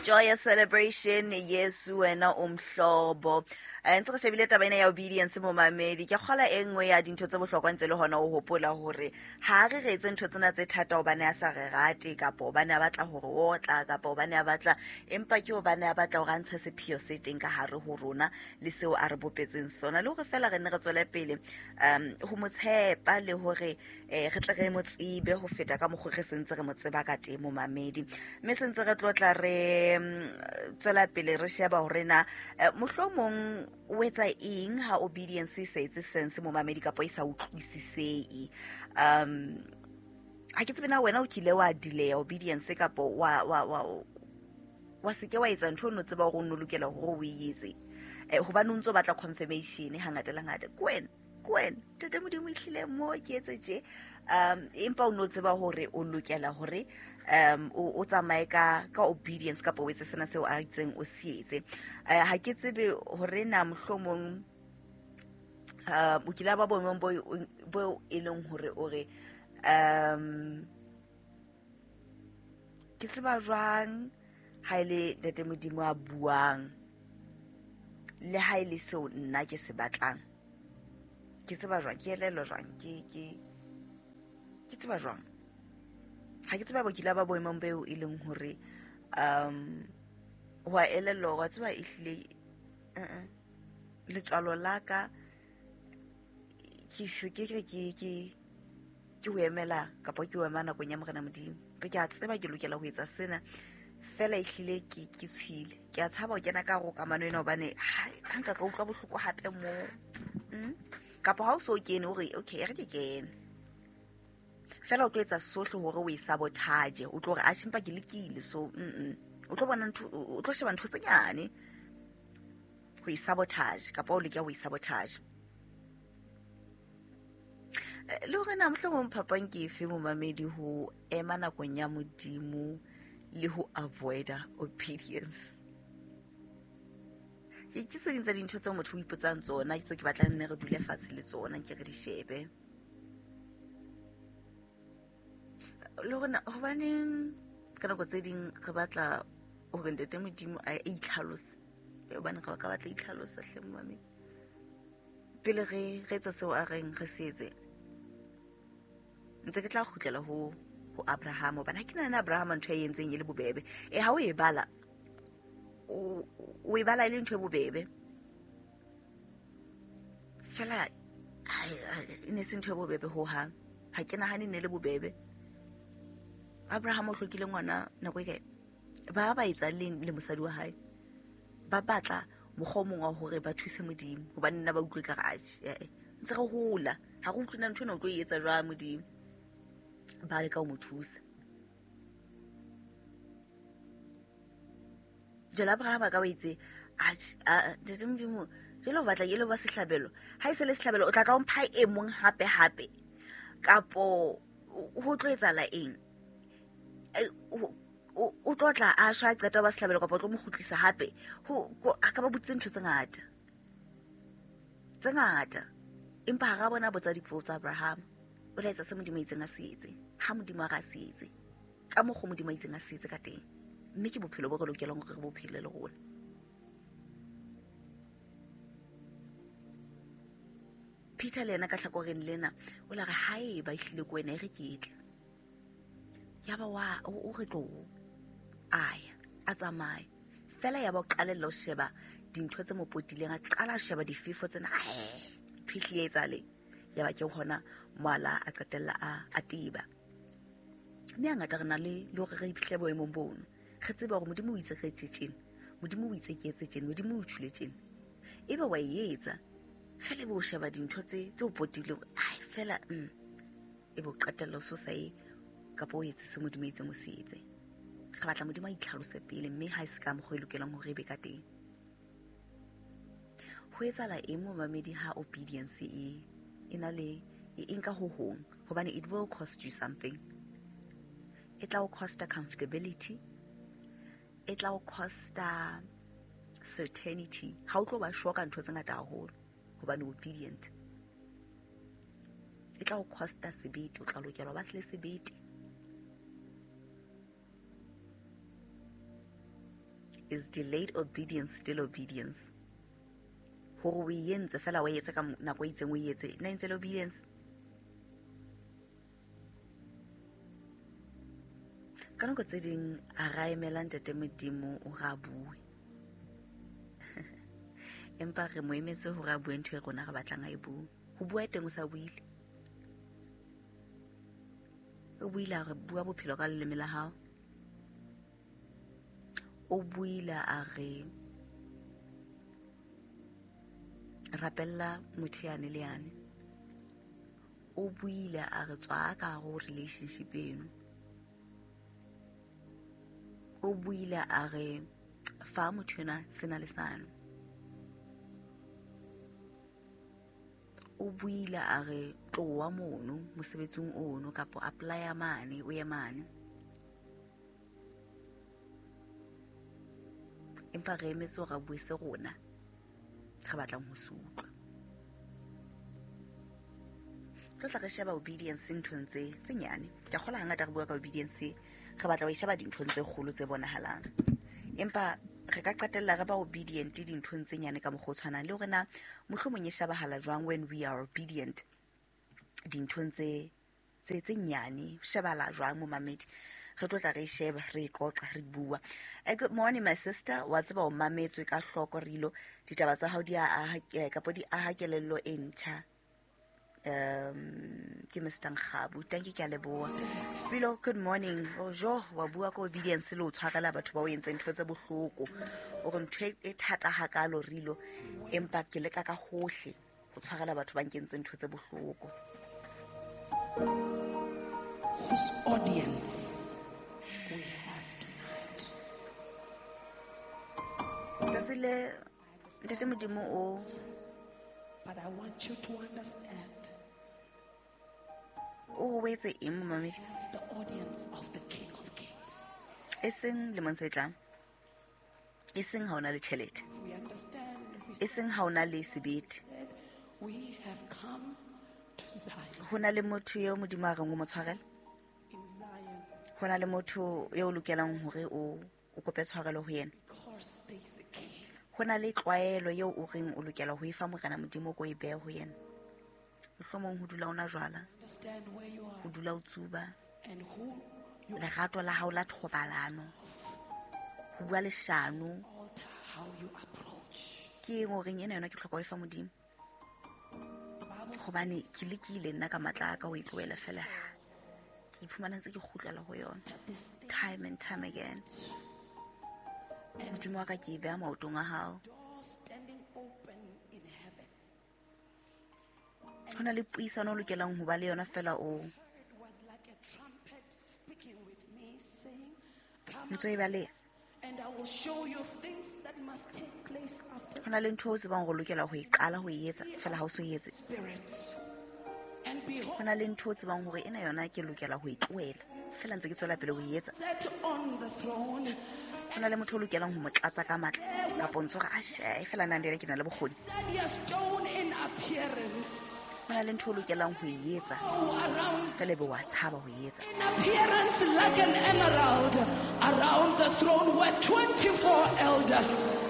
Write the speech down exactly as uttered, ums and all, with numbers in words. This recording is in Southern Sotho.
Joyous celebration, Yesu wena o mhlobo. Eh, ntse re shebile taba ena ya obedience momamedi. Ke kgola e nngwe ya dintho tse bohlokwa ntse le hona o hopola hore ha re re etse ntho tsena tse thata hobane a sa re rate kapa hobane a batla hore otla kapa hobane a batla, empa ke hobane a batla hore a ntshe sepheo se teng ka hare ho rona le seo a re bopetseng sona, le hore fela re nne re tswele pele um ho mo tshepa le hore eh, re tle re mo tsebe ho feta ka mokgwa re sentse re mo tseba ka teng momamedi. Mme sentse re tlotla re mm, tswela pele re sheba hore na eh, mohlomong o etsa eng ha obedience e sa etse sense momamedi kapa e sa utlwisisehe. Um ha ke tsebe na wena o kile wa delay obedience kapa wa wa wa wa se ke wa etsa ntho o no tseba hore o no lokela hore o e etse, eh, hobane o ntso batla confirmation hangata le hangata. Ke wena, ke wena Ntate Modimo ehlile mo ke etse tje, um empa o no tseba hore o lokela hore um o o tsamaye ka ka obedience kapa o etse sena seo a itseng o se etse. Eh, ha ke tsebe hore na mohlomong um o kile ba boemong bo bo e leng hore o re um ke tseba jwang ha ele Ntate Modimo a buang le ha ele seo nna ke se batlang, ke tseba jwang, ke elellwa jwang, ke ke ke tseba jwang. Ha ke tseba bo kile ba boemong beo e leng hore um wa elellwa hore wa tseba ehlile eh letswalo la ka ke se ke re ke ke ke ho emela kapa ke ho ema nakong ya Morena Modimo. Ke a tseba ke lokela ho etsa sena fela ehlile ke ke tshwile, ke a tshaba ho kena ka hare ho kamano ena hobane ha ha nka ka utlwa bohloko hape mo. Mm? Kapa ha o so kene o re okay e re ke kene fela, o tlo etsa sohle hore o e sabotage, o tlo re atjhe empa ke lekile, so mm o tlo bona ntho, o tlo sheba ntho tse nyane ho e sabotage kapa o leka ho e sabotage. Eh, le hore na mohlomong phapang ke efe momamedi ho ema nakong ya Modimo le ho avoida obedience. Ke ke tse ding tsa dintho tseo motho o ipotsang tsona, ke tseo ke batlang nne re dule fatshe le tsona ke re di shebe. Le hore na hobaneng ka nako tse ding re batla hore Ntate Modimo a itlhalose, hobane re ka batla itlhalosa hle momamedi pele re re etsa seo a reng re se etse. Ntse ke tla kgutlela ho ho Abraham, hobane ha ke nahana Abraham ntho e entseng e le bobebe. E ha o e bala, o o e bala e le ntho e bobebe fela, e ne se ntho e bobebe ho hang. Ha ke nahane ne le bobebe. Abraham o hlokile ngwana nako e kae? Ba ba etsa le le mosadi wa hae, ba batla mokgwa o mong wa hore ba thuse Modimo, hobane nna ba utlwe ka re atjhe, eh ntse re hola ha re utlwe na ntho ena o tlo e etsa jwang Modimo. Ba leka ho mo thusa. Jwale Abraham a ka ba itse atjhe, a Ntate Modimo jwale o batla ke lo ba sehlabelo, ha e se le sehlabelo o tla tla o mpha e mong hape hape, kapo ho tlo etsahala eng? O tlo tla a shwa a qeta ba sehlabelo kapa o tlo mo kgutlisa hape? Ho a ka ba botse ntho tse ngata tse ngata, empa ha ra bona botsa dipotso tsa Abraham. O tla etsa se Modimo a itseng a se etse, ha Modimo a re a se etse ka mokgwa Modimo a itseng a se etse ka teng. Mme ke bophelo bo re lokelang hore re bo phele le rona. Peter le yena ka hlakoreng lena o la re haeba ehlile ke wena e re ke tle, yaba wa o re tlo aya a tsamaye fela, yaba o qalella ho sheba dintho tse mo potileng, a qala a sheba difefo tsena, ntho e hlile e etsahale, yaba ke hona moala a qetella a a teba. Mme hangata re na le le hore re iphihle boemong bono, re tsebe hore Modimo o itse re etse tjena, Modimo o itse ke etse tjena, Modimo o tjhule tjena, ebe wa e etsa fela, ebe o sheba dintho tse tse o potileng, ai fela mm ebe o qetella o so sa e kapa o etse se Modimo a itseng o se etse. Re batla Modimo a itlhalose pele, mme ha e se ka mokgwa e lokelang hore e be ka teng. Ho etsahala eng momamedi ha obedience e e na le e nka ho hong? Hobane it will cost you something. E tla o costa comfortability, e tla o costa certainty. Ha o tlo ba sure ka ntho tse ngata haholo hobane obedient. E tla o costa sebete, o tla lokela ho ba le sebete. Is delayed obedience still obedience? Hore o e entse fela o e etse ka nako e itseng o e etse, na e ntse le obedience? Ka nako tse ding a ra emela Ntate Modimo o ra bue. Empa re mo emetse hore a bue ntho e rona re batlang a e bue. Ho bua teng o sa buile. O buile a re bua bophelo ka leleme la hao. O buile a re rapella motho yane le yane. O buile a re tswa ka go relationship eno. O buile a re fa motho yena sena le sano. O buile a re tloa mono mosebetsing ono kapo apply mane o ye mane. Empa re emetse hore a bue se rona re batlang ho se utlwa. Tlo tla re sheba obedience nthong tse tse nyane. Ke a kgolwa hangata re bua ka obedience, re batla ho e sheba dinthong tse kgolo tse bonahalang. Empa re ka qetella re ba obedient dinthong tse nyane ka mokgwa o tshwanang le hore na mohlomong e shebahala jwang when we are obedient dinthong tse tse tse nyane, shebahala jwang momamedi. Re tlo tla re sheba, re qoqa, re bua. Eh, good morning my sister. Wa tseba o mametswe ka hloko rilo. Ditaba tsa hao di a aha kapo di aha kelello e ntjha. Um ke Mister Nkgabu. Thank you, ke a leboha. Pilo, good morning. Ojo, wa bua ka obedience le o tshwarela batho ba o entseng ntho tse bohloko. O re ntho e thata hakalo rilo, empa ke leka ka hohle ho tshwarela batho ba nkentseng ntho tse bohloko. Whose audience we have tonight? Tsatsi le Ntate Modimo o, but I want you to understand. O o etse eng momamedi? Have the audience of the King of Kings. E seng lemong se tlang. E seng ha o na le tjhelete. We understand. We E seng ha o na le sebete. said we have come to Zion. Ho na le motho eo Modimo a reng o mo tshwarele? In Zion. Ho na le motho eo o lokelang hore o, o kope tshwarelo ho yena. Because there is a king. Ho na le tlwaelo eo o reng o lokela ho e fa Morena Modimo ko e behe ho yena. Mohlomong ho dula o nwa jwala, Understand where you are ho dula o tsuba, and who you lerato la hao la thobalano, ho bua leshano. alter how you approach. Ke eng o reng ena yona ke hloka ho e fa Modimo? The Bible Hobane ke lekile nna ka matla a ka ho e tlohela fela. Ke iphumana ntse ke kgutlela ho yona says this thing time and time again. and Modimo wa ka ke e beha maotong a hao. door standing open in heaven. Ho na le puisano o lokelang ho ba le yona fela o It was like a trumpet speaking with me, saying, Come ntso e baleha. and I will show you things that must take place after Ho na le ntho o tsebang hore o lokela ho e qala ho e etsa fela ha o so e etse. spirit. And behold, Ho na le ntho o tsebang hore ena yona ke lokela ho e tlohela fela ntse ke tswela pele ho e etsa. set on the throne, Ho na le motho o lokelang ho mo tlatsa ka matla kapo ntso re a she fela nna le yena ke na le bokgoni. sardius stone in appearance. Ho na le ntho o lokelang ho e etsa Oh, around fela ebe wa tshaba ho e etsa. in appearance like an emerald. Around the throne were twenty-four elders.